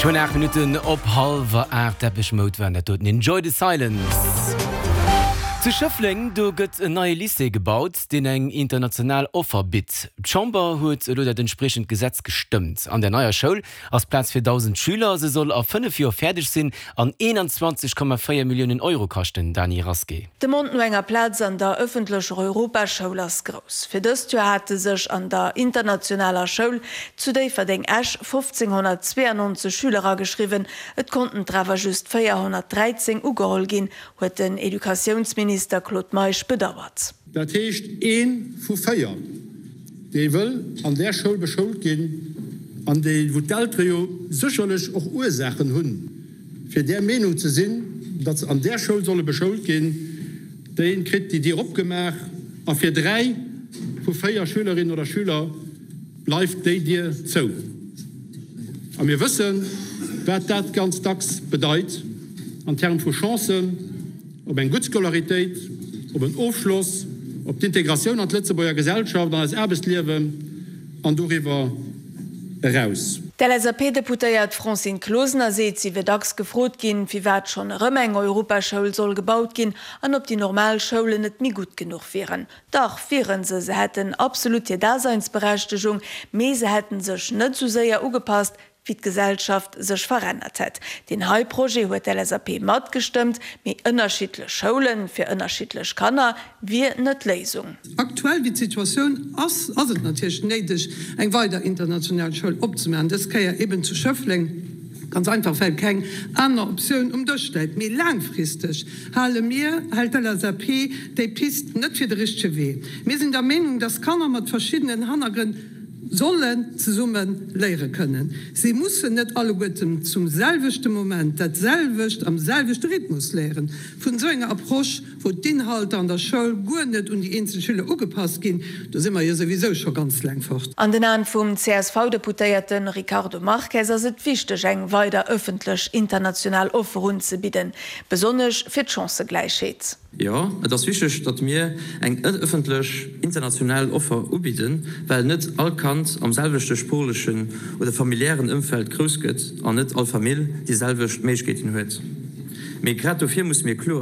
Geschwënn 8 Minutten op hallwer 8, Depeche Mode waren dat doten, Enjoy the Silence. Zu Schëffleng, do gëtt en neie Lycée gebaut, deen eng international Offer bitt. D'Chamber huet elo dat entspriechend Gesetz gestëmmt. An der neier Schoul ass Plaz fir 1.000 Schüler. Se soll a 5 Joer fäerdeg sinn an 21,4 Milliounen Euro kaschten, Dany Rasqué. D'Demande no enger Plaz an der ëffentlecher Europaschoul ass grouss. Fir dëst Joer hate sech an der internationaler Schoul zu Déifferdeng-Esch 1.592 Schüler ageschriwwen, et konnten der awer just 413 ugeholl ginn, huet den Educatiounsminister Claude Meisch bedauert. Dat heescht, ee vu 4, dee wëll an där Schoul beschoult ginn, an déi, wou d'Eltere jo sécherlech och Ursaachen hunn, fir där Meenung ze sinn, datt se an där Schoul solle beschoult ginn, dee kritt déi Dier opgemaach, a fir 3 vu 4 Schülerinnen oder Schüler bleift déi Dier zou. A mir wëssen, wat dat ganz dacks bedeit an Terme vu Chancen op eng gutt Scolaritéit, op en Ofschloss, op d'Integratioun an d'Lëtzebuerger Gesellschaft, an eist Aarbechtsliewen an doriwwer eraus. D'LSAP-Deputéiert Francine Closener seet, si wier dacks gefrot ginn, firwat schonn erëm eng Europaschoul soll gebaut ginn an ob déi normal Schoulen net méi gutt genuch wieren. Dach, wiere se, se hätten absolut hir Daseinsberechtegung, mee se hätten sech net esou séier ugepasst, wéi d'Gesellschaft sech verännert hätt. Deen hei Projet huet d'LSAP matgestëmmt, mee ënnerschiddlech Schoule fir ënnerschiddlech Kanner wier net d'Léisung. Aktuell, wéi d'Situatioun ass, ass et natierlech néideg, eng weider international Schoul opzemaachen, dës Kéier eben zu Schëffleng, ganz einfach well keng aner Optioun um Dësch läit. Mee laangfristeg hale mir, hält d'LSAP déi Pist net fir de richtege Wee. Mir sinn der Meenung, dass Kanner mat verschiddenen Hannergrënn sollen zesumme léiere kënnen. Si mussen net alleguerten zum selwechte Moment dat selwecht am selwechte Rhythmus léieren. Vun esou enger Approche, wou d'Inhalter an der Schoul guer net un déi eenzel Schüler ugepasst ginn, do si mer jo souwisou scho ganz laang fort. An den Aen vum CSV-Deputéierte Ricardo Marques ass et wichteg, eng weider ëffentlech international Offer unzebidden, besonnesch fir d'Chancëgläichheet. Jo, et ass wichteg, datt mir eng ëffentlech international Offer ubidden, well net all Kand am selwechte sproochlechen oder familiären Ëmfeld grouss gëtt an net all Famill déi selwecht Méiglechkeeten huet. Mee grad dofir musse mir kloer.